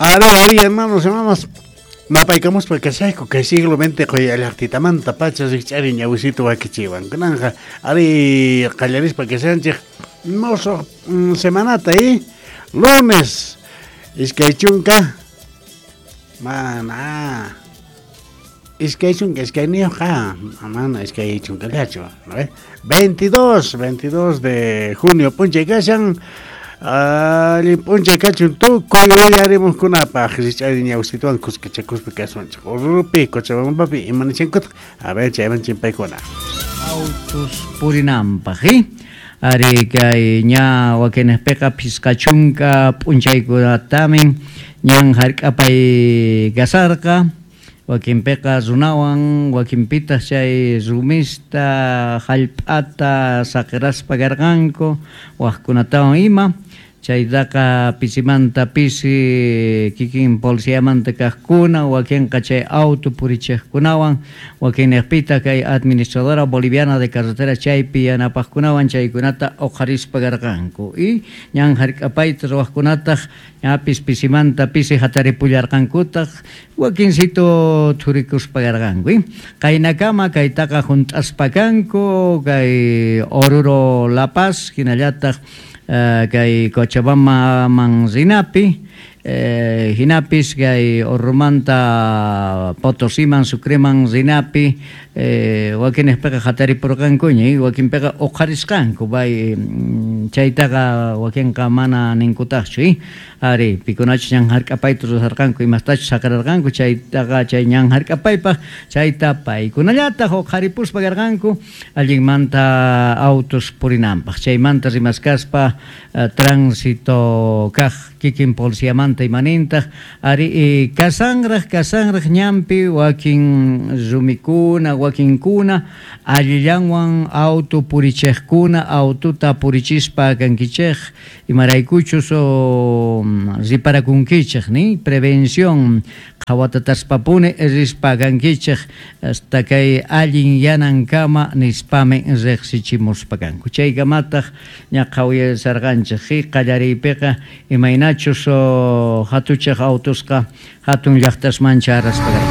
Ari, ari, hermanos, hermanas. Napaykamuspa kashayku kay siglo XX quyallaqtitamanta pacha rikch'ari ñawisito wakichiwan. Kunanqa ari qallarispa kashanchik mosoq semanata lunes 20 mana 22 mana 20llachu, ¿no ve? 22 de junio p'unchay kashan. Allin p'unchay kachun tukuy uyarimuqkunapaq rikch'ari ñawisituwan kuskachakuspa kasunchik Oruropi, Cochabambapi imanishankutaq a ver chayman chimpaykuna. Autos purinanpaq, Ari kay ña wakinpiqa 50 p'unchaykunatamin ñan hark'apay kasarqa wakinpiqa runawan wakinpitaq chay rumista hallp'ata saqiraspa karqanku waqkunatawan ima chaytaqa pisimanta pisi kikin policiamanta kaqkuna wakinqa chay auto purichiqkunawan wakinniqpitaq kay administradora boliviana de carretera chaypi yanapaqkunawan chaykunata uqharispa karqanku y ñan hark'apayta ruwaqkunataq ñapis pisimanta pisi hataripullarqankutaq wakinsito thurikuspa karqanku qaynakama kaytaqa hunt'aspa kanku kay Oruro La Paz hinallataq kay Cochabambaman rinapi hinapis kay Orurumanta Potosiman Sucreman rinapi wakinpiqa hataripurqankuña wakinpiqa uqharisqanku bay chaytaqa wakinqa mana ninkutaqchu ari pikunachus ñan hark'apayta rurarqanku imastachus saqirarqanku chaytaqa chay ñan hark'apaypaq chayta paykunallataq uqharipuspa karqanku allinmanta autos purinanpaq chaymanta rimaskaspa tránsito kaq kikin policiamanta imanintaq ari kasanraq ñanpi wakin rumikuna wakinkuna allillanwan auto purichiqkuna autota purichispa kankichik imaraykuchus riparakunkichik ni prevención qhawatataspapuni rispa kankichik hasta kay allin yanankama nispami riqsichimuspa kanku chaykamataq ña qhawayasarqanchik qallariypiqa imaynachus hatuchaq autosqa hatun llaqtasman charaspa.